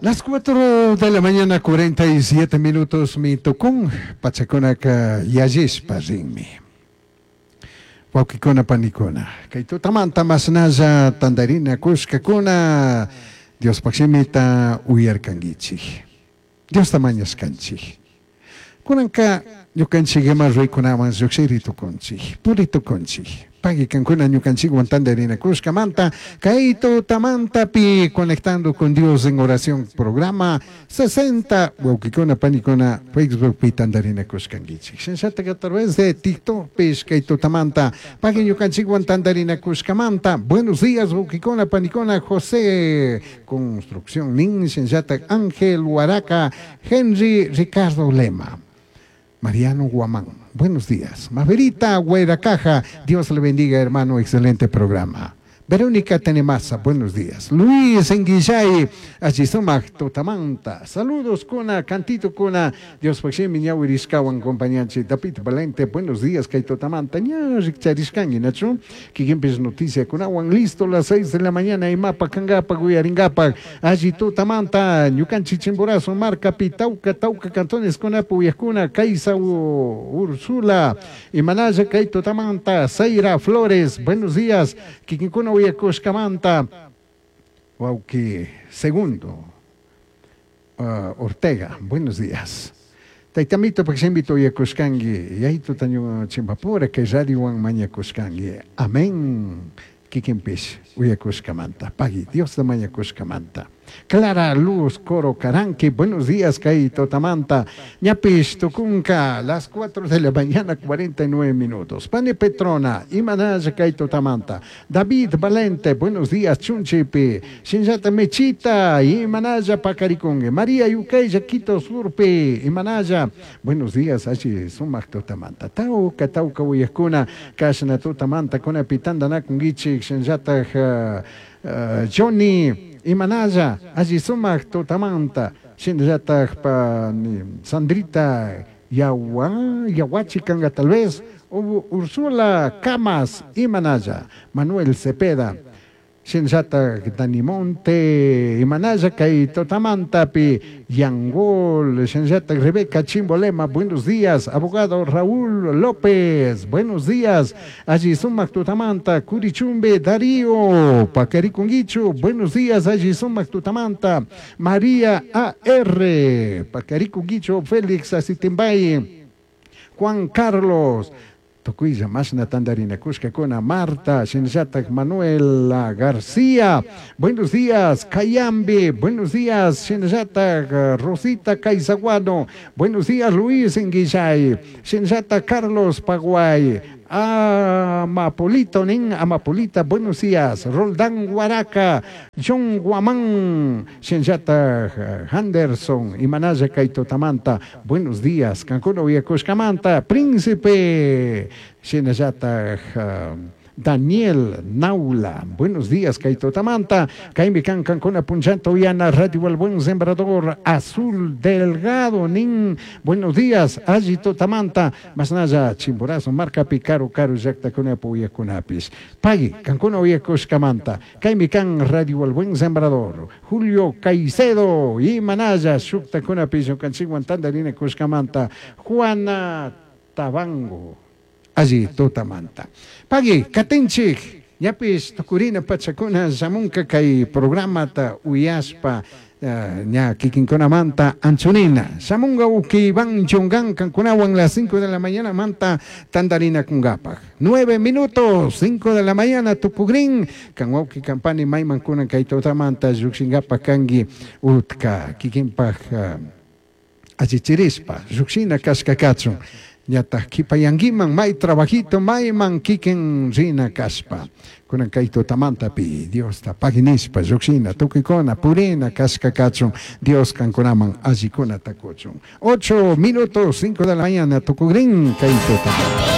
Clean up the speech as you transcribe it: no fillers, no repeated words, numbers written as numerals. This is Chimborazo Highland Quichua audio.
Las 4 de la mañana, 47 minutos, mi tukun, pachakunaka yallishpa rinmi. Wawkikuna panikuna, kay tutamanta mashnalla tandarina kushkakuna Diospaj shimita uyarkankichik. Diosta mañashkanchik. Kunanka ñukanchik ima ruykunawan llukshiri tukunchik, puri tukunchik. Pagui kankuna ñukanchikwan tandarina kushkamanta, kay tutamantapi Conectando con Dios en Oración programa 60 wawkikuna panikuna Facebookpi tandarina kushkankichik. Shinllatak a través de TikTokpish kay tutamanta pagui ñukanchikwan tandarina kushkamanta. Buenos días wawkikuna panikuna José Construcción nin, shinllatak Ángel Huaraca, Henry Ricardo Lema. Mariano Guamán, buenos días. Maverita Güeracaja, Dios le bendiga, hermano, excelente programa. Verónica Tenemasa, buenos días. Luis Enguillay, Allisumac, Totamanta. Saludos, Kuna, Cantito Kuna. Dios Pashimi, Ñawirishkawan, compañanchi. David Valente, buenos días, Kay Totamanta. Ña, Rikcharishkangi, Nacho. Kikimpis noticia, Kunawan, listo, las 6 de la mañana. Y mapa, Kangapa, Guyaringapa. Allí Totamanta, Ñukanchi Chimborazo, Marca, Pitauca, Tauca, Cantones, Kunapu, Uyakuna, Kaisa, Ursula, Imanaya, Kay Totamanta, Zaira Flores, buenos días. Kikinkuna, Uyakushkamanta, Wauki, segundo, Ortega, buenos días. Taitamito, Paxembito, Uyakushkangi, Yaito, Taño, Chimbapura, que radio Juan Mañakushkangi. Amén. Kikinpish, Uyakushkamanta. Pagui, Dios de Mañakushkamanta. Clara Luz Coro Caranqui, buenos días, Kay Totamanta. Ñapish Tucunca, las 4 de la mañana, 49 minutos. Pani Petrona, Imanaya Kay Totamanta. David Valente, buenos días, Chunchipi. Shinjata Mechita, Imanaya Pacaricungue. María Yucaya, Quito Surpe, Imanaya. Buenos días, Achi Sumac Totamanta. Tauca, Tauca, Uyakuna, Kashna Totamanta, Kuna Pitanda Nakungichi, Shinjata Johnny. Imanaya, allí sumac totamanta, shinllatak pa ni Sandrita Yawa, Yawachi kanga tal vez, Ursula Camas, Imanaya, Manuel Cepeda, shinllatak Danimonte, Imanaya, kay totamanta pi Yangol, shinllatak Rebeca Chimbolema, buenos días, abogado Raúl López, buenos días, allí sumac totamanta, Curichumbe Darío, Pacariconguicho, buenos días, allí sumac totamanta, María A.R., Pacariconguicho, Félix Asitimbay, Juan Carlos, Tocuilla, Mashna Tandarina, Cusca Cuna, Marta, Shinjatak, Manuela García, buenos días, Cayambe, buenos días, Shinjatak, Rosita Caizaguano, buenos días, Luis Enguillay, Shinjata Carlos Paguay, Amapolito, nin, Amapolita, buenos días, Roldán Guaraca, John Guamán, Shinjata Anderson, Imanaya Kaito Tamanta, buenos días, Cancún Uyacushcamanta, Príncipe, Shinjata Daniel Naula, buenos días, Kaito Tamanta, Kaimi Can Cancuna Punchanta Uyana, Radio El Buen Sembrador, Azul Delgado, Nin, buenos días, Allito Tamanta, Masnaya, Chimborazo, Marca Picaro, Caro, Yacta Cunapu, Uyacunapis, Pagui, Cancuna Uyacushcamanta, Kaimi Can, Radio El Buen Sembrador, Julio Caicedo, y Manaya, Shukta Cunapis, Yucanchiguan, Tandarina Cushcamanta, Juana Tabango, allí Totamanta. Pagui, Katinchik, ñapis tukurina pachakuna shamunka kay programata uyaspa ña kikinkunamanta anchunina. Shamunga uki Iván Chongan kankunawan las 5 de la mañana manta tandarina kungapaj. 9 minutos, 5 de la mañana tukugrin, kanwauki kampani mayman kunan kay totamanta llukshinkapa kangi utka kikinpaj allichirispa llukshina kashka kachun. Ñataq kipayankiman may trabajito mayman kikin rina kaspa. Kunan kay tutamantapi Diosta paginispa llukshina tukuykuna purina kashka kachun Dios kankunaman allikuna takuchun. 8 minutos 5 de la mañana tukugrin kay tutamanta.